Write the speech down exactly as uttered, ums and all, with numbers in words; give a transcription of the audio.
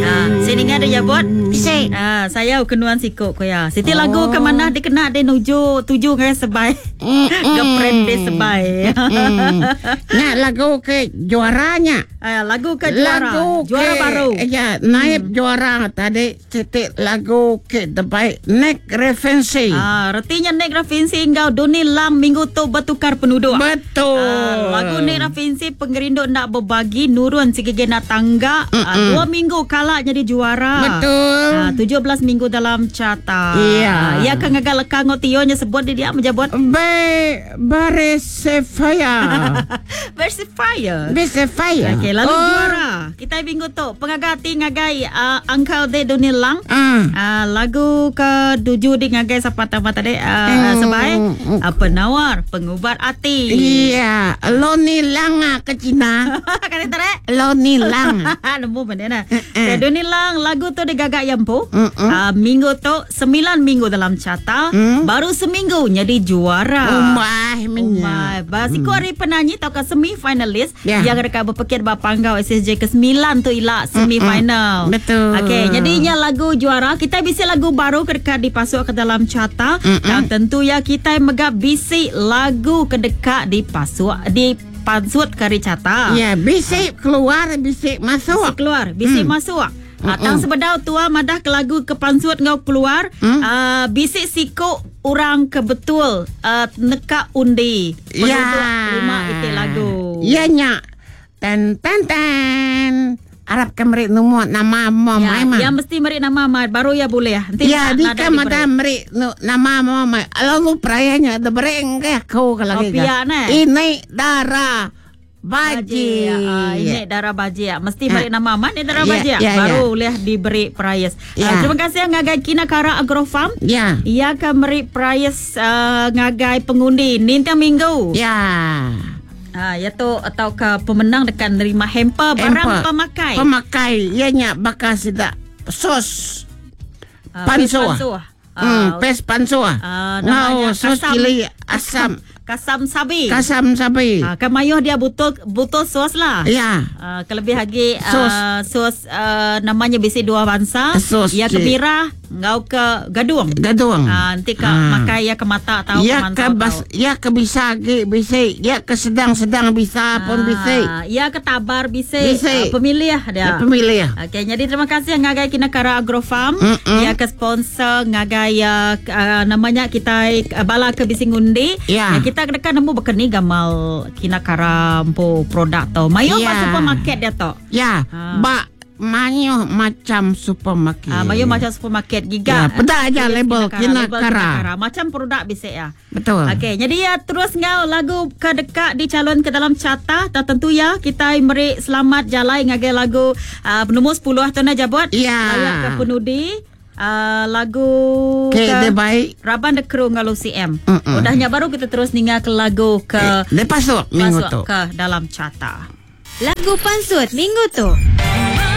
Ah, sini ada ya buat. Bisik. Ah, saya kenuan sikok ko ya. Siti oh. lagu ke mana dikena de nuju tuju ngai sebai. Mm, Gepret de sebai. Mm. Nya lagu ke juaranya. Ah, lagu ke juara. Lagu juara ke, baru. Ya, naib hmm. juara tadi siti lagu ke terbaik Nek Referensi. Ah, retinya Nek Referensi enggau Doni Lang minggu tu bertukar penduduk. Betul. Ah, lagu Nek Referensi pengerindu nak berbagi nurun sikit nak tangga. Ah, dua minggu kalah jadi juara. Betul. Ah, tujuh belas minggu dalam carta. Iya. Ah, ya kan ngagal lekang tionya sebut dia dia menjabot. Be Beresefaya. Versifier. Beresefaya. Okey, lalu oh. juara. Kita minggu tu pengagati ngagai uh, Uncle De Doni Lang. Ah. Uh, lagu ke tujuh di ngagai siapa tambah tadi uh, Hmm. sebai uh, penawar pengubat hati. Iya, Loni Lang ah, ke Cina. Kan tarik. Loni Lang. Nemu benda nah. Okay, Doni Lang lagu tu digagak yampu. Mm-mm. Uh, minggu tu sembilan minggu dalam carta, Mm. baru seminggu jadi juara. Umah minyak. Umai. Basiku hari penyanyi atau ke semi finalis Ya. yang dekat berpekir ba panggau S S J ke sembilan tu ilak semi final. Betul. Okey, jadinya lagu juara kita bisa lagu baru kedekat dipasuk ke dalam carta dan tentu ya kita megap bisi lagu kedekat dipasuk dipansut ke carta. Ya, bisik keluar, bisik masuk. Bisik keluar, bisik masuk. Ah, tang sebedau tua madah ke lagu ke pansut ngau keluar, Mm. ah, bisik siku orang ke betul uh, neka undi. Ya. Penduduk lima itik lagu. Ya nyak. Ten ten ten. Arab ke merik numu nama mo Ya, mai ma. yang mesti merik nama mai baru ya boleh. Nanti Ya, tak di nada kan diberi. ada merik nu nama mo mai. Lalu perayanya ada bereng ke aku kalau Oh, pia, ne? Ini darah baji. Ah, ini darah baji ya. Mesti Ah. beri nama man ni darah Ya, baji. ya, Baru ya. boleh diberi prize. Ya. Ah, terima kasih ngagai Kinakara Agrofarm. Ya. Ia akan beri prize uh, ngagai pengundi nintiang minggu. Ya. Ah, ya tu atau ke pemenang dekat nerima hamper barang Hamper. pemakai. Pemakai ya nyak bakal sidak sos Ah, pansuh. pansuh. Hmm, Ah, pes pansuh. ah, namanya Ngau sos kasam- cili asam. Kasam sabi. Kasam sapi. Ah, kan mayuh dia butuh butuh sos lah. Ya. Uh, kelebih lagi Sos. uh, sos uh, namanya bisi dua bangsa. Sos Ya ke cik. merah, ngau ke gadung. Gadung. Ah, nanti ke Ah. makai ya ke mata tahu Ya ke ke mantau bas, tahu. ya ke bisa ke bisa, ya ke sedang-sedang bisa pun bisa. Ah, ya ke tabar bisa. Bisa. Ah, pemilih dia. Ya, pemilih. Okey, jadi terima kasih ngagai Kinakara Agrofarm. Mm-mm. Ya ke sponsor ngagai ya uh, namanya kita uh, bala ke bising undi. Ya. Ya, kita dekat nemu bekeni gamal Kinakara empu produk tu. Mayo Ya. yeah. supermarket dia tu. Ya, Ah. bak manyo macam supermarket. Ah, mayo macam supermarket giga. Ya, pedak aja Tulis label Kinakara, label Kinakara. Kinakara. Macam produk bisik ya. Betul. Okey, jadi ya terus ngau lagu ke dekat dicalon ke dalam carta tertentu ya kita meri selamat jalan ngagai lagu uh, nombor sepuluh tu nak jabot. Ya. Layak ke penudi uh, lagu Ke dia baik. Raban The Crew ngalu C M. Mm-mm. Udahnya baru kita terus ninga ke lagu ke Lepas tu minggu masuk tu. ke dalam carta. Lagu Pansut Minggu tu.